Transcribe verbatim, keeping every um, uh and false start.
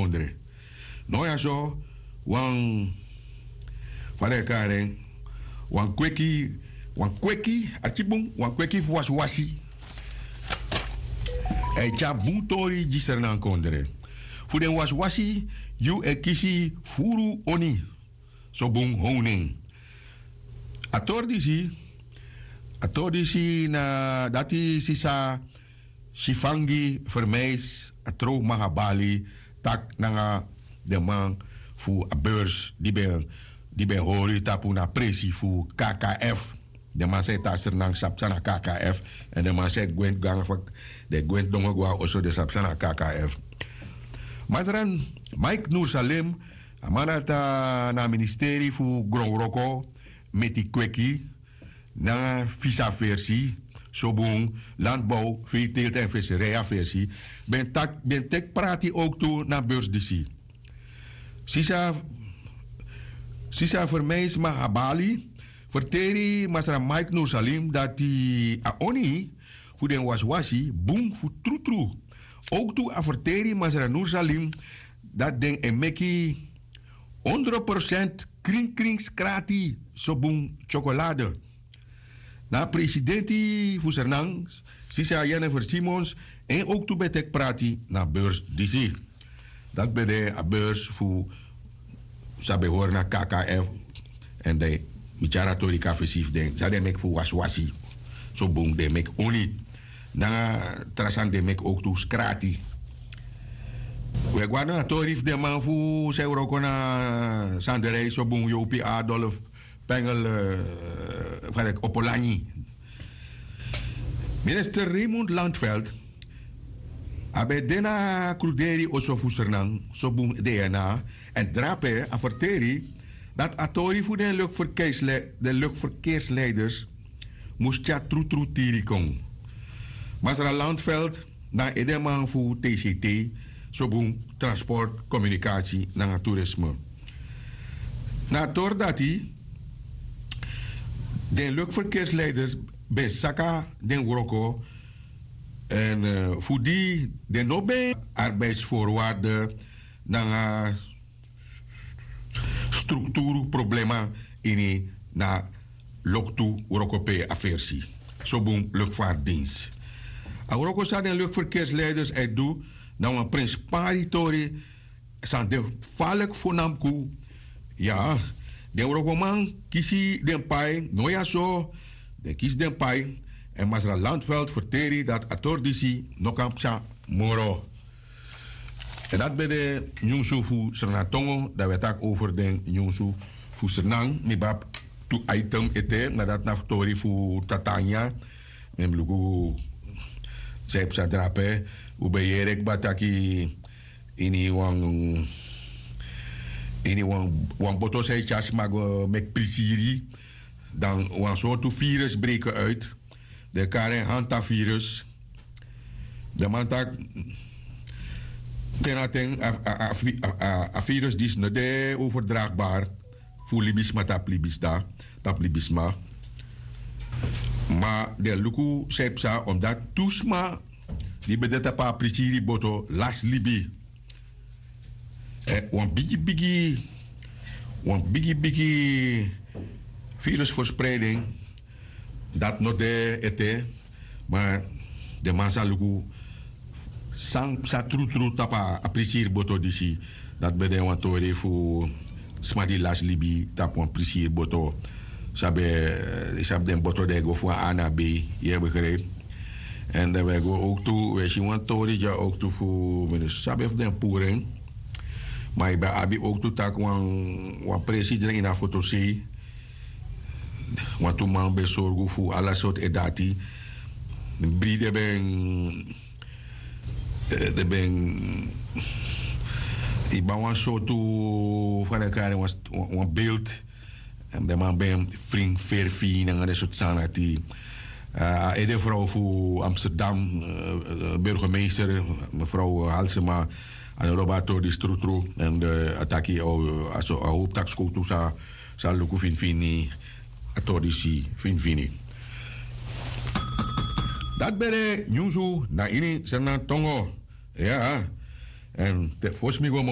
Kondre. No ya so, wan, fa den e kari en, wan kweki, wan kweki, arki bun, wan kweki fu wasiwasi. A e tyari bun tori gi Sranan Kondre. Fu den wasiwasi, yu e kisi furu oni. So bun, hownu en. A tori disi, a tori disi na dati sisa Sifangi Vermeis, a trow Mahabali, taki nanga den man fu a beurs di ben, di ben hori tapu na presi fu K K F. Den man san e tan Sranan sabi san na K K F. Èn den man san e gwenti go nanga fa den gwenti dongo go na oso, den sabi san na K K F. Masra Mike Noursalim, a man dati na a ministeri fu gronwroko, meti kweki nanga visa versi, so bun, landbouw, veeteelt en visserij versi, ben taki, ben teki prati ook tu na beurs disi. Sisa, sisa Vermeis Mahabali ferteri Masra Mike Noursalim dati a oni fu den wasiwasi bun fu trutru. Ook tu a ferteri Masra Noursalim dati den e meki honderd procent kringkring skrati, so bun, chocolade. Na presidenti fu Sranan, sisa Jennifer Simons, en ook tu ben teki prati na beurs disi. Dati ben de a beurs fu san ben hori na K K F. Èn den mi tyari a tori kon na fesi fu den san den meki fu wasiwasi. So bun, den meki oni. Nanga tra sani den meki ook tu skrati. We go na a tori fu den man fu san e wroko na Sanderij, so bun, Yopi Adolf Pengel, eh, fa den e kari, Opelanyi. Minister Raymond Landveld, a ben de na kruderi oso fu Sranan, so bun, D N A, èn drape a ferteri dati a tori fu den luchtverkeersle-, den luchtverkeersleiders mus tyari trutru tiri kon. Masra Landveld na edeman fu T C T, so bun, transport, communicatie nanga toerisme. Na a tori dati, den luchtverkeersleiders ben saka den wroko, èn, eh, fu di den no ben arbeidsvoorwaarden nanga structuurproblema ini na loktu wroko pe a versi. So bun, luchtvaartdienst. A wroko san den luchtverkeersleiders e du na wan prenspari tori san de falek fu Namku. Ya, den wrokoman kisi den pai, no ya so, den kisi den pai, èn Masra Landveld ferteri dati a tori disi no kan psa moro. Èn dati ben de nyunsu fu Sranan Tongo, dan we taki over den nyunsu fu Sranan, mi ben abi tu item ete, ma dati na fu tori fu Tatanya, mi mus luku san e psa drape, un ben yere kba taki ini wan, ini wan, wan boto san e tyari sma go meki prisiri, dan wan sortu virus breken uit. Den e kari en hantavirus. Den man taki te na ten a, a, a, a, a, a virus disi no de overdraagbaar fu libisma tapu libisma. Ma den luku san e psa omdati tu sma di ben de tapu a prisiri boto lasi libi. Eh, wan bigi bigi, wan bigi bigi virusverspreiding, dati no de ete, ma den man sa luku san psa trutru tapu a prisiri boto disi. Dati ben de wan tori fu sma di lasi libi tapu wan prisiri boto. Sabi, eh, sabi den boto di e go fu wan A na B, yu e begrijp. Èn dan we go ook tu, we si wan tori dya ook tu fu, mi no sabi fu den puru en. Ma yu ben abi ook tu taki wan, wan presi dren ini a fotosei. Wantu man ben sorgu fu ala sortu e dati. Bri den ben, eh, den ben, yu ben wan sortu, fa den e kari en, wan, wan beeld. Èn den man ben fring ferfi nanga den sortu sani dati. Eh, a ede vrouw fu Amsterdam, eh, eh, burgemeester, mevrouw Halsema, a no lobi a tori disi trutru. Èn, eh, a taki, oh, a so, a howpu taki skowtu sa, sa luku finifini, a tori disi finifini. Dati ben de nyunsu na ini Sranan Tongo. Ya. Èn te fosi mi go